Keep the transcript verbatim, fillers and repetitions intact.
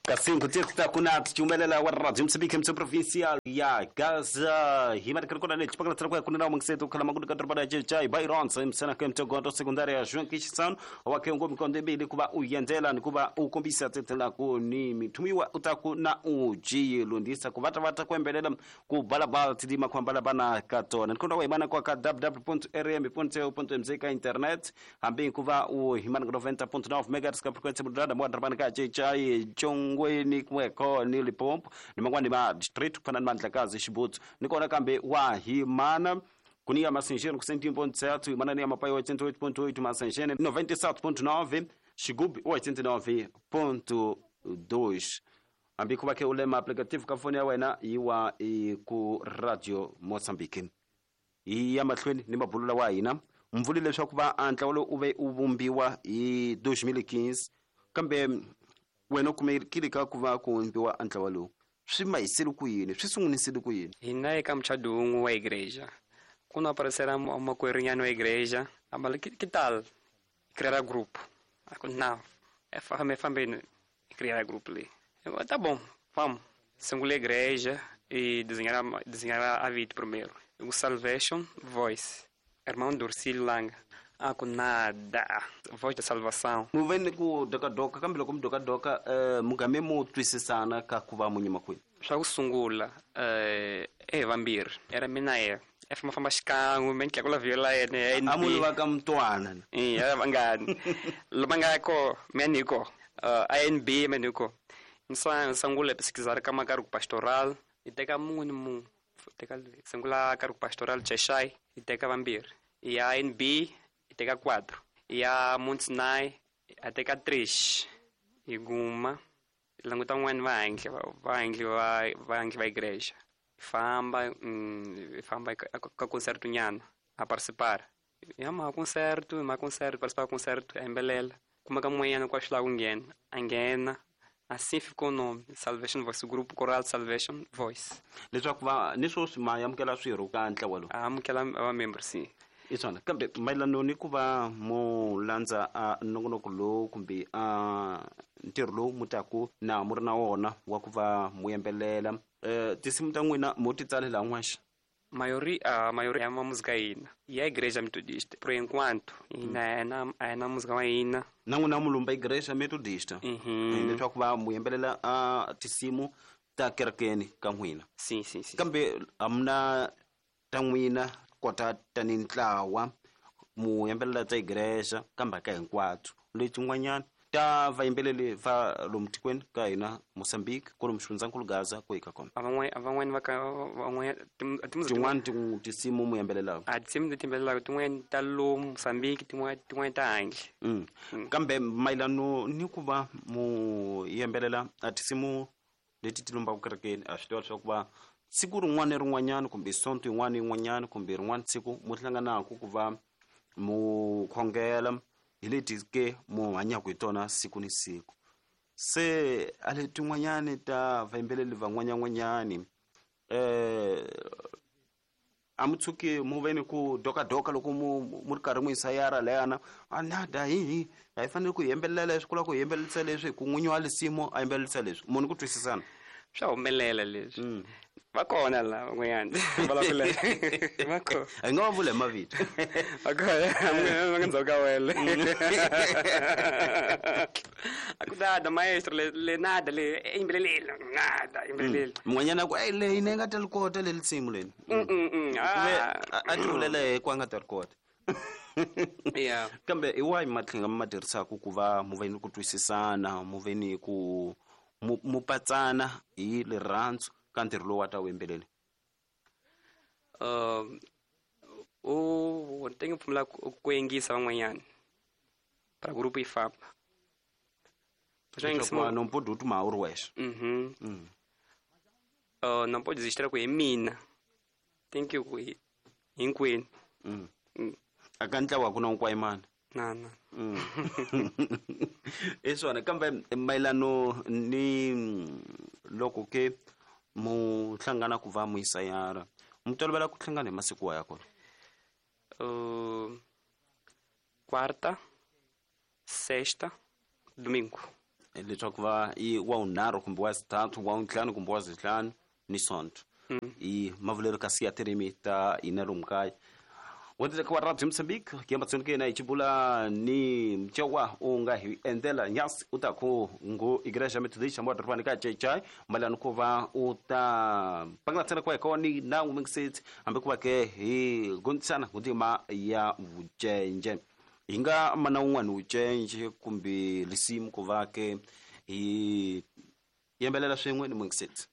Kasi nkutirta kuna tichumelela wa radio Mozambique mtso provincial ya Gaza himarikana ne chipakala tsara kuna na mangseto kala magudu ka dropa ya chai Byron msana ke mtogondo secundária João Kishan wa kengo mikonde mbili kuba uyendela ni kuba ukombisa tetela ku ni mitumiwa utaku na uji lundisa kubata bata kwembelela ku balabala tidima kwa balabana katona nkonda wa imana kwa ka w w w ponto r m ponto co ponto m z ka internet hambi kuba u himana noventa ponto nove megahertz ka frequência modulada mwa drabana ka chai chongwe ni kweko ni Limpopo ni mangwani ma district kufana ni Mandlakazi Xibutsu ni kona kambe wa himana kunia Massinjene ku cento e um ponto sete himana ni Mapai oitenta e oito ponto oito Massinjene noventa e sete ponto nove Xigubi oitenta e nove ponto dois ambi kuba ke ulema aplicativo ka fone ya wena iwa ku Radio Mozambique iya mahlweni ni mabulula wa hina mvuli leswaku va antla lo uve uvumbiwa hi dois mil e quinze kambe wena kumekile ka ku va ku vumbiwa antlawa lowu swi mahisele ku yini swi sungunisile ku yini hina eka muchado wun'we wa igreja ku na aparecera makwerhunyana wa igreja ambala que, que tal criar grupo a não é fambe fambeni criar grupo ali eu, tá bom vamos sungula igreja e desenhar desenhar a vida primeiro o Salvation Voice irmão Dorcílio Langa a ku nada voz da salvação mu veni ku dokadoka kambe loko mi dokadoka uh, mugame mu twisisana ka ku va munyima kwini swa ku sungula uh, e vambirhi era mina ye e famba famba xikan'we me ni tlakula viola yena a mu va ka mutwana e era vangani loma nga ko me ni ko uh, A N B me ni ko nsa sungula pesquisar ka makargo pastoral e teka munhu ni munhu teka sungula cargo pastoral Cheshai e teka vambirhi e A N B teka quatro e a Monte Sinai até três e guma languta n'wana va handle va handle va va handle va igreja famba famba ka concerto nyana a participar ya ma concerto ma concerto participar concerto embelela kuma ka moyana kwa xila ku nghena a nghena assim ficou o nome Salvation Voice Grupo Coral Salvation Voice leswaku va ni swoswi ma amukela swirho ka ntlawa lowu a amukela va member sim isona kambe mayelano ni ku va mu landza a nongonoko lowu kumbe a ntirho lowu mu taku na mu ri na wona wa ku va mu yembelela um tinsimu ta n'wina mo ti tsalela n'waxa maioria a maioria é uma música hina e a igreja metodista por enquanto hina na é na música hina na n'wina mu lumba igreja metodista leswaku va mu yembelela a tinsimu ta kerekeni ka n'wina sim sim sim kambe a mi na ta n'wina kota tani ntlawa mu yembelela ta igreja kambe ka hinkwato letin'wanyana ta vayimbeleli va lomu tikweni ka hina Mozambique ku lomu xifundzankulu Gaza ku hika kona a van'wana van'wana va ka van'wana tin'wana tinsimu mu yembelelaka a tinsimu leti yimbelelaka tin'wana ta lomu Mozambique tin'wana tin'wana ta handle kambe mayelano ni ku va mu yembelela a tinsimu leti ti lumbaka kerekeni a swi tiva leswaku va siku rin'wana ni rin'wanyana kumbe sonto yin'wana ni yin'wanyana kumbe rin'wana siku mu hlanganaka ku va mu khongela hi leti ke mu hanyaka hi tona siku ni siku se a letin'wanyani ta vayimbeleli van'wanyan'wanyani um a mu tshuki mu ve ni ku dokadoka loko mu mu ri karhi mu yisa layana a nada hihi a hi fanele ku hi yimbelela leswi ku lava ku hi yimbelelisa leswi hi ku n'winyi wa lisimu a yimbelelisa leswi munhu ku twisisana swa humelela leswi va kona la van'wanyana vulavula va kona hi nga va vula hi mavito va kona va nga ndzhaku ka wele a ku nada maestro le le nada le yimbeleleli nada yimbeleleli mun'wanyana a ku eyi leyi ni nga ta ri kota leli nsimu leni a ti vulela hi ku a nga ta ri kota yeah kambe hi wahi matlhinga mi ma tirhisaka ku va mu ve ni ku twisisana mu ve ni ku mu patsana hi rirhandzu ka ntirho lowu wa ta wu yimbeleli um u tenge pfumela ku yingisa van'wanyana para grupo yi famba não pode tomar o wexe uhum uh, não pode desistir ku hi mina thank you ku hinkwenu a ka ntlawa ku na nkwayimana na na i swona kambe mayelano ni loko ke mu hlangana ku va mu yisa yara mu tolovela ku hlangana hi masiku wa ya kona uh, quarta sexta domingo Leswaku va i wa vunharhu kumbe wa xithathu, wa ntlhanu kumbe wa xihlanu ni sonto. I mavulelo kasi ya tirimi ta hina lomu kaya. Wendleka wa Radio Mozambique kiyamba tsonke na ichibula ni mchewa unga hi endela nyasi uta ku ngu igreja Methodista mwa dorobani ka Chechai malano ku va uta pangela tsena kwa koni na umengset ambe ku va ke hi gondisana ngudima ya vucenje hinga mana un'wana wucenje kumbe lisimu ku va ke hi yembelela swin'we ni mengset.